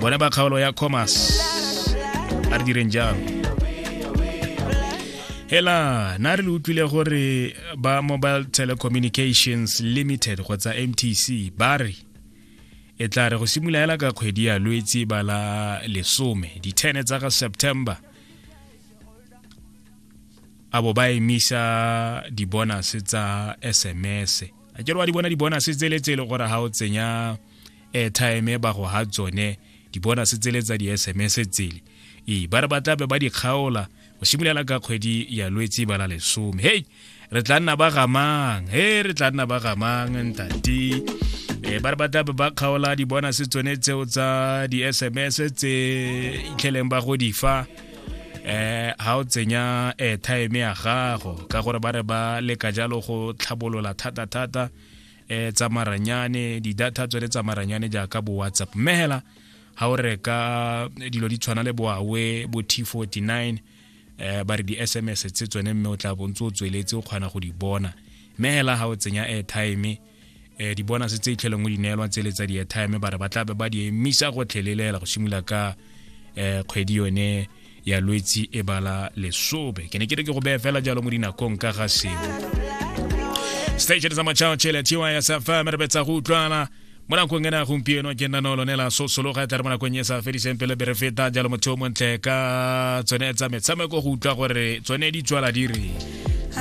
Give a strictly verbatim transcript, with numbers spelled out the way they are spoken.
Bone ba kgaolo ya Commerce, a re direng jalo. Hela na re le utlwile gore ba Mobile Telecommunications Limited kgotsa M T C ba re e tla re go simolola hela ka kgwedi ya Lwetse ba la lesome di-ten tsa ga September a bo ba emisa di-bonus tsa S M S. A ke re wa di bona di-bonus tsele tse e le gore ha o tsenya airtime ba go ha tsone di-bonus tsele tsa di-S M S tsele. E ba re ba tla be ba di kgaola go simolola ka kgwedi ya Lwetse ba la lesome. Hey, re tla nna ba gamang, hey, re tla nna ba gamang ntate. E ba re ba tla be ba kgaola di-bonus tsone tseo tsa di-S M S tse itlheleng ba go di fa eh ha o tsenya airtime ya gago, ka gore ba re ba leka jalo go tlhabolola thata-thata eh tsa maranyane, di-data tsone tsa maranyane jaaka bo WhatsApp. Mme hela ha o reka dilo di tshwana le bo Huawei bo T forty-nine eh ba re di-S M S tse tsone mme o tla bo ntse o tsweletse o kgona go di bona. Mme hela ha o tsenya airtime eh di-bonus tse itlheleng o di neelwa tsele tsa di-airtime ba re ba tla be ba di emisa go tlhelelela go simolola ka eh kgwedi yone ya Lwetse e bala lesobe. Ke ne ke re ke go beye fela jalo mo dinakong ka ga seo. Station sa Machao Chele T Y S F M re betsa go utlwana mo nakong ena gompieno. Ke nna no lone la sosologa e tla re mo nakong e sa fediseng pele be re feta jalo motho o montle ka tsone tsa metshameko go utlwa gore tsone di tswala di re.